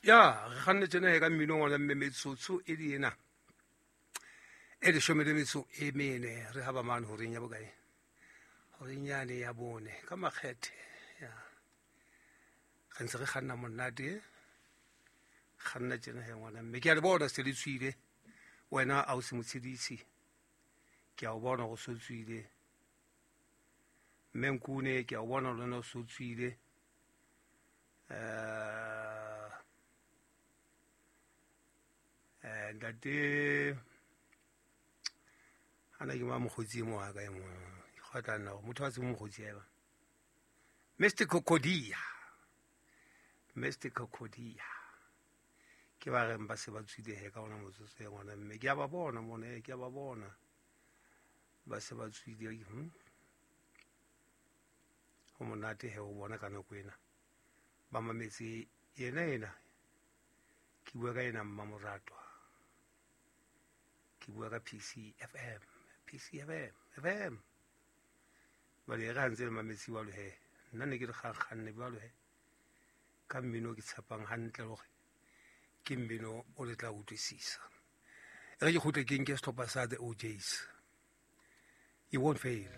Ya re kganne tjena he ka mmino ngwana mme metsotso e le ena e leshome le metso e mene re haba mane horeng ya bokae, horeng yane ya bone ka makgethe. Ya re ntse re kganna monate, kganna tjena he ngwana mme ke a le bona se le tswile. Wena a o se motshedisi, ke a o bona go so tswile. Mme Nkune, ke a o bona le wena o so tswile. Ntate ana ke ma mokgotsi e mo wa ka e mo ke tla nna gore motho a tsebe mokgotsi eba Mr Cocodia, Mr Cocodia ke ba reng ba se ba tswile he ka ona motsotso e ngwana mme ke a ba bona mona, ke a ba bona ba se ba tswile. Ho monate he o bona ka nako ena ba mametse yena ena ke bua ka ena mmamoratwa, ke bua ka PCFM, PCFM FM. Jwale e re ha ntse le mametse jwalo he, nna ne ke re kgakganne jwalo he ka mmino ke tshepang hantle hore ke mmino o le tla utlwisisa. E re ke kgutle ke nke sehlopha sa the OJs, you won't fail.